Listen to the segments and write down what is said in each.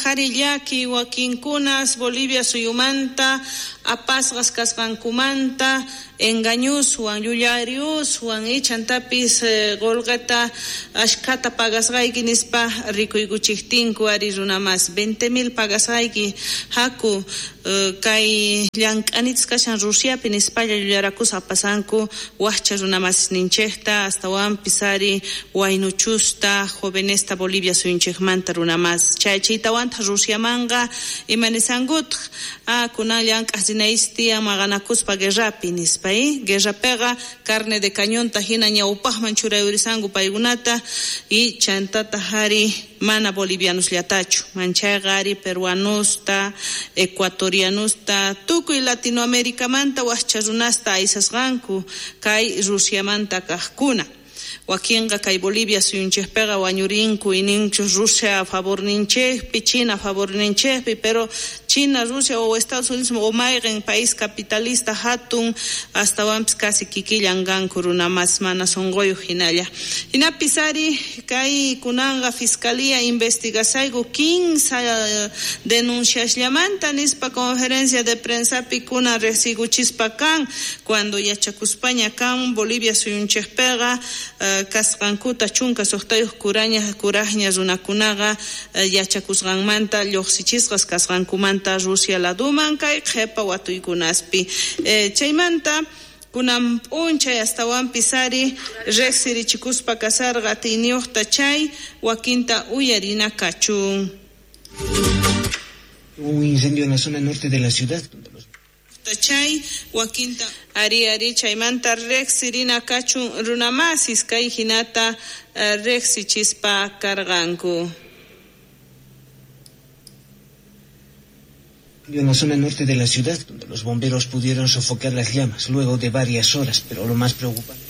Ari llaki wakinkunas Bolivia suyumanta apasqas kasqankumanta engañuswan llullariuswan ichantapis qullqita ashkhata pagasqayki nispa rikuykuchiqtinku ari runamas 20,000 pagasqayki haku kay llank'anitas kashan Rusiapi nispalla llullarakusqa apasanku waqcha runamasninchikta astawanpis ari waynuchusta jovenesta Bolivia suyunchikmanta runamas chaychiytawantaq Rusiamanqa imanisankutaq kunan llank'aq rinaysi tiyan maqanakuspa guerrapi nispa guerrapiqa carne de cañonta hina ñawpaqman churayurisanku paykunata y chantataq ari mana bolivianosllatachu manchayqa ari peruanosta ecuatorianosta tukuy Latinoamericamanta waqcha runasta aysasqanku kay Rusiamanta kaqkuna. Wakinqa kay Bolivia suyunchikpiqa wañurinku ininchus Rusia favorninchikpi China favorninchikpi pero China, Rusia o Estados Unidos o mayqin país capitalista hatun astawanpis casi kikillan kanku runamas mana sunquyuq hinalla. Hinapis ari kay kunanqa fiscalía investigasayku 15 denunciasllamanta nispa conferencia de prensapi kunan riqsiykuchispa kan cuando yachakuspaña kan Bolivia suyunchikpiqa kasqankuta 16 kuraqña runakunaqa yachakusqanmanta lluqsichisqas kasqankumanta Rusia laduman kay qhipa watuykunaspi chaymanta kunan p'unchay astawanpis ari riqsirichikuspa kasarqa atiyniyuqta chay wakinta uyarina kachun. Hubo un incendio en la zona norte de la ciudad donde los chay wakinta ari chaymanta riqsirina kachun runamasis kay hinata riqsichispa karqanku. En la zona norte de la ciudad, donde los bomberos pudieron sofocar las llamas luego de varias horas, pero lo más preocupante.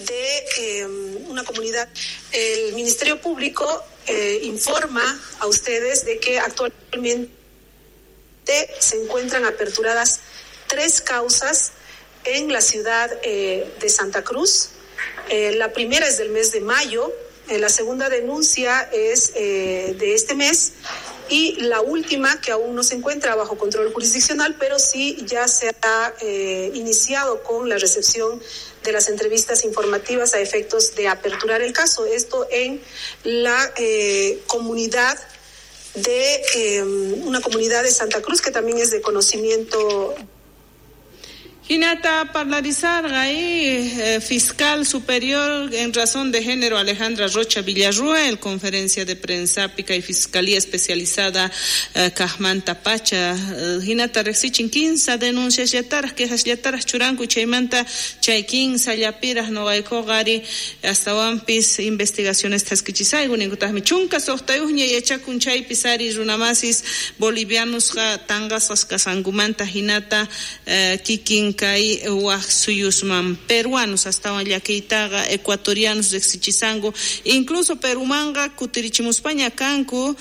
De una comunidad, el Ministerio Público informa a ustedes de que actualmente se encuentran aperturadas 3 causas en la ciudad de Santa Cruz. La primera es del mes de mayo, la segunda denuncia es de este mes y la última, que aún no se encuentra bajo control jurisdiccional, pero sí ya se ha iniciado con la recepción de las entrevistas informativas a efectos de aperturar el caso. Esto en la comunidad de una comunidad de Santa Cruz que también es de conocimiento. Hinata parlarizarqa fiscal superior en razón de género Alejandra Rocha Villarruel, conferencia de prensa pica y fiscalía especializada kaqmanta pacha hinata riqsichin 15 denuncias llataraq quejas llataraq churanku chaymanta chay 15 llapiraq nuqaykuqa ari astawanpis investigaciones thaskichisayku ninkutaqmi 16ña yachakun chaypis ari runamasis bolivianosqa tanqasqas kasqankumanta hinata kikin kay waq suyusman peruanos astawan llakiytaqa ecuatorianos riqsichisanku incluso Perumanqa kutirichimuspaña kanku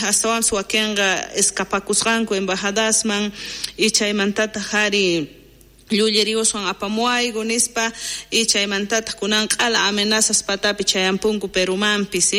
astawanpis wakinqa escapakusqanku embajadasman y chaymantataq ari llulleriuswan apamuayku nispa y chaymantataq kunan q'ala amenazas patapi chayampunku Perumanpis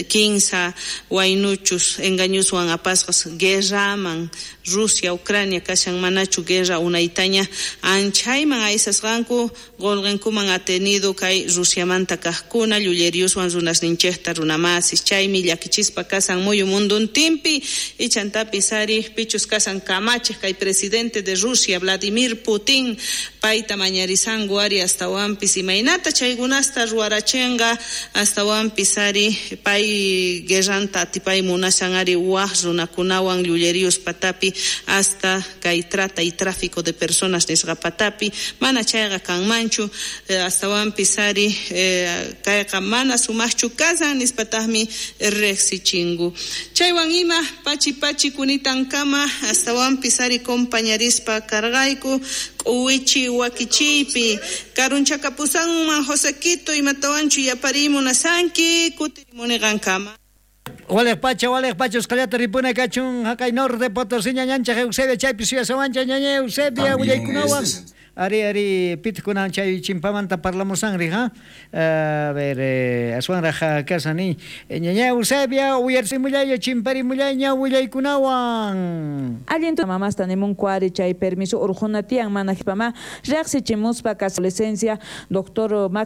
15 waynuchus engañuswan apasqas guerraman Rusia, Ucrania kashan manachu guerra unaytaña anchayman aysasqanku qulqinkuman atenido kay Rusiamanta kaqkuna llulleriuswan runasninchikta runamasis chaymi llakichispa kasan muyu munduntinpi y chantapis ari pichus kasan kamachiq kay presidente de Rusia Vladimir Putin payta mañarisanku ari astawanpis imaynata chaykunasta ruwarachinqa astawanpis ari pay guerranta atipay munashan ari waq runakunawan llullerius patapi hasta kay trata y tráfico de personas nisqa patapi mana chayqa kanmanchu astawanpis ari kayqa mana sumaqchu kasan nispataqmi riqsichinku chaywan ima pachi pachi kunitankama astawanpis ari compañarispa karqayku k'uwichi wakichiypi karunchakapusanman Josequito imatawanchu yaparimunasanki kutirimuniqankama. Walej pacha, usqallata ripuna kachun haqay norte Potosí ñañanchaj Eusebia chaypi suyasawancha ñaña Eusebia willaykunawan. Ari, ari, pitkunan chay chimpamanta parlamusanri, ha? A ver, aswanraj kasani. Ñaña Eusebia, uyarsimullaylla, chimparimullayña willaykunawan. Allin mamasta nimunku ari chay permiso urquna tiyan mana jipama riqsichimuspa adolescencia doctor.